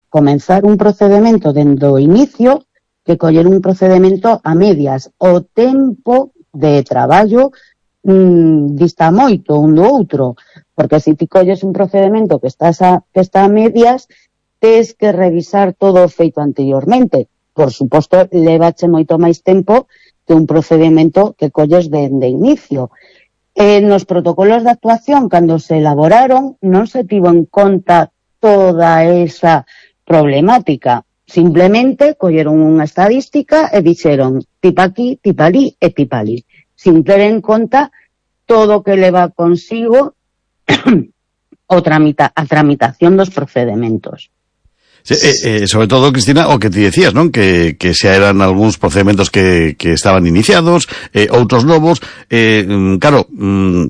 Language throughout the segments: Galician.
comenzar un procedemento dende o inicio que coller un procedemento a medias. O tempo de traballo dista moito un do outro, porque se ti colles un procedemento que está a medias, tes que revisar todo o feito anteriormente. Por suposto, levache moito máis tempo que un procedemento que colles de inicio. Nos protocolos de actuación, cando se elaboraron, non se tivo en conta toda esa problemática. Simplemente colleron unha estadística e dixeron tipa aquí, tipa ali e tipa ali, sin ter en conta todo o que leva consigo a tramitación dos procedementos. Sí, sobre todo, Cristina, o que ti decías, non? Que xa eran algúns procedementos que estaban iniciados, outros novos, claro,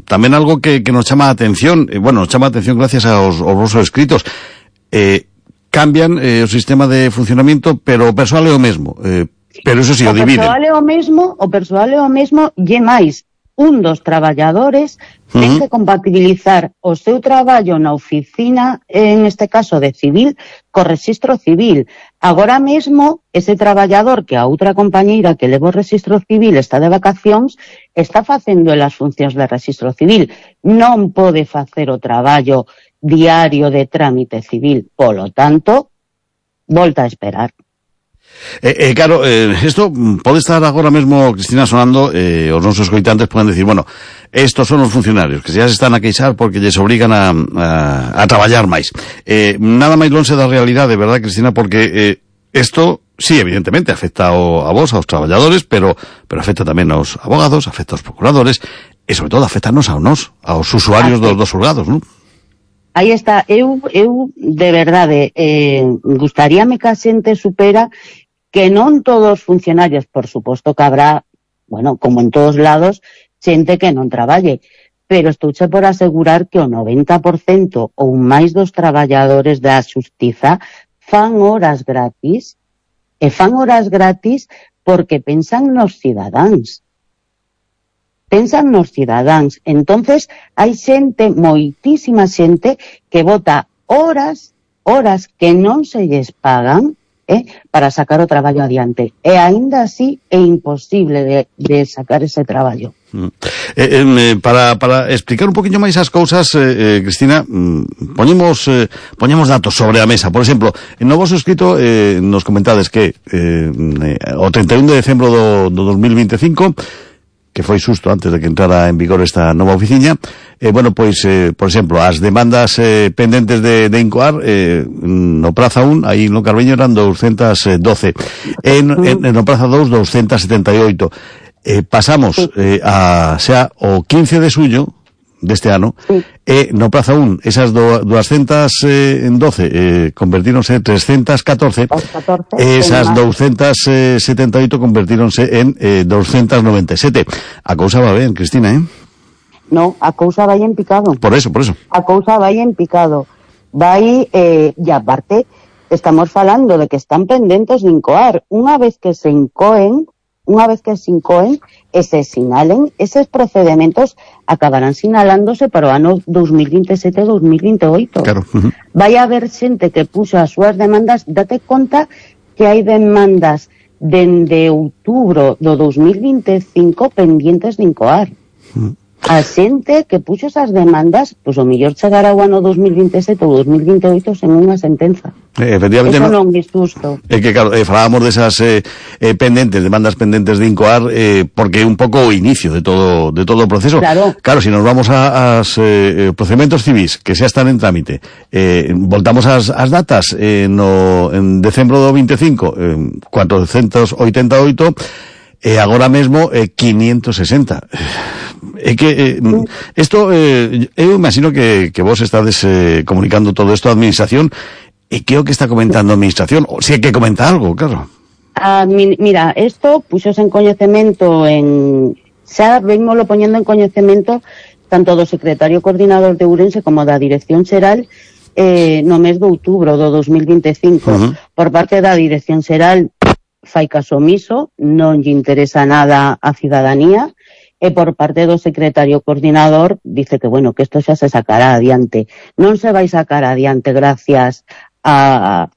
tamén algo que nos chama a atención, nos chama a atención gracias aos vosos escritos, cambian o sistema de funcionamento, pero o persoal é o mesmo, pero eso sí, o dividen. O persoal é o mesmo, lle máis, un dos traballadores ten que compatibilizar o seu traballo na oficina, en este caso de civil, co rexistro civil. Agora mesmo, ese traballador que a outra compañeira que leva o rexistro civil está de vacacións, está facendo as funcións de rexistro civil. Non pode facer o traballo diario de trámite civil. Polo tanto, volta a esperar. Claro, esto pode estar agora mesmo, Cristina, sonando, os nosos escoitantes poden decir, bueno, estos son os funcionarios que xa se están a queixar porque lles obrigan a traballar máis. Nada máis lonxe da realidade, verdad, Cristina, porque esto, sí, evidentemente, afecta a vos, aos traballadores, pero afecta tamén aos abogados, afecta aos procuradores, e sobre todo afectanos aos usuarios dos xulgados, non? Aí está, eu de verdade, gustaríame que a xente supera que non todos os funcionarios, por suposto que habrá, bueno, como en todos lados, xente que non traballe, pero estouche por asegurar que o 90% ou máis dos traballadores da xustiza fan horas gratis, e fan horas gratis porque pensan nos cidadáns. Entonces, hai xente, moitísima xente, que bota horas que non se lles pagan, para sacar o traballo adiante. E aínda así é imposible de sacar ese traballo. Para explicar un poquinho máis as cousas, Cristina, poñemos datos sobre a mesa. Por exemplo, no vosso escrito nos comentades que o 31 de decembro do 2025, que foi xusto antes de que entrara en vigor esta nova oficina, por exemplo, as demandas pendentes de Incoar, no Praza 1, aí no Carbeño eran 212, no Praza 2, 278. Pasamos xa o 15 de suño deste ano, no Praza 1, esas 212 convertíronse en 314, esas 278 convertíronse en 297. A cousa va ben, Cristina, No, a cousa vai en picado. Por eso. A cousa vai en picado. E aparte, estamos falando de que están pendentes de incoar. Unha vez que se incoen e se sinalen, eses procedementos acabarán sinalándose para o ano 2027-2028. Claro. Vai haber xente que puxo as súas demandas. Date conta que hai demandas dende outubro do 2025 pendientes de incoar. A xente que puxo esas demandas, pois o mellor chegará ao ano 2027 ou 2028 sen unha sentenza. Efectivamente, eso non é justo. É que, claro, falábamos desas demandas pendentes de incoar, porque é un pouco o inicio de todo o proceso. Claro, si nos vamos aos procedementos civis que xa están en trámite, voltamos ás datas, en decembro do 25, 488, e agora mesmo 560. É que isto, eu imagino que vos estades comunicando todo isto á administración, e que é o que está comentando a administración, ou se é que comenta algo, claro. Mira, isto puxose en coñecemento xa venmoslo poñendo en coñecemento tanto do secretario coordinador de Ourense como da Dirección Xeral no mes de outubro do 2025. Por parte da Dirección Xeral fai caso omiso, non lle interesa nada a cidadanía, e por parte do secretario coordinador dice que, bueno, que isto xa se sacará adiante. Non se vai sacar adiante gracias a